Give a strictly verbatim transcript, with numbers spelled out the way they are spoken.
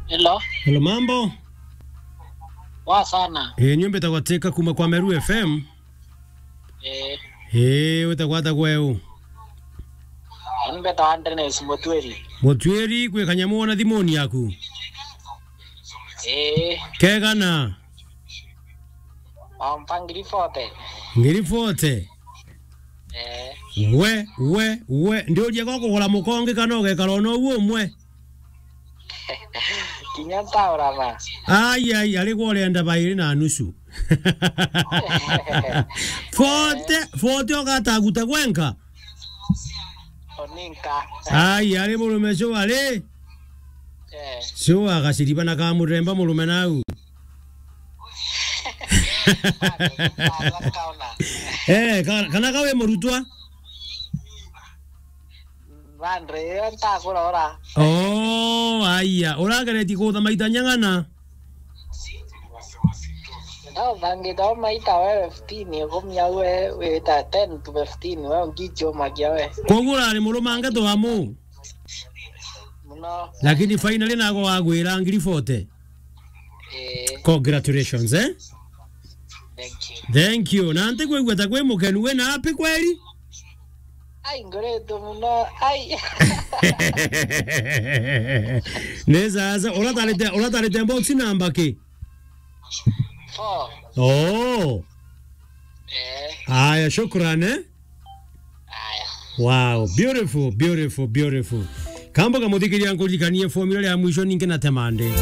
Hello. Hello, mambo? Poa sana. Eh, nyumba itagwa Teka kuma kwa Meru F M. Eh. Eh, witagwa atagwa u? Ani mbetagwa Dennis Mutwiri. Mutwiri, kwi kanyamu wona thimuni yaku? Eh. Kegana? Wampa ngiri forty. Ngiri forty? Eh. We, we, we, ndiuria gwa kugura mukongi kana ugekara ona uguo umwe? Kinya ntaurama. Ai, ai, ari gwa urenda bairi na nusu. Forty, forty ugataguta gwenka? Oninka. Ai, ari murume sure ari? Eh. Sure agaciriba na kamuremba murume nau. Eh, ka-, kana ka wi murutwa? Bado, iyo ntakurora. Oh, aya. Urageretie kutha maita nyang'ana? Ndathangite o maita we fifteen, ikumi au we wita ten to fifteen, we ungichumagia we. Koguo urari murumange twamu? Muno. Lakini finally nago wagwira ngiri forty. Eh. Congratulations, eh? Thank you. Thank you. Na nti kwigua ta kwi mukenu, wina happy kweli? Ai, ngoretwe muno. Ai. Ni sasa, uratarite, uratarite box number ki? Four. Oh. Eh. Aya, shukran, eh? Aya. Wow, beautiful, beautiful, beautiful. Kambo kamuthikiria nkuririkanie formula ya mwisho ningi na temande.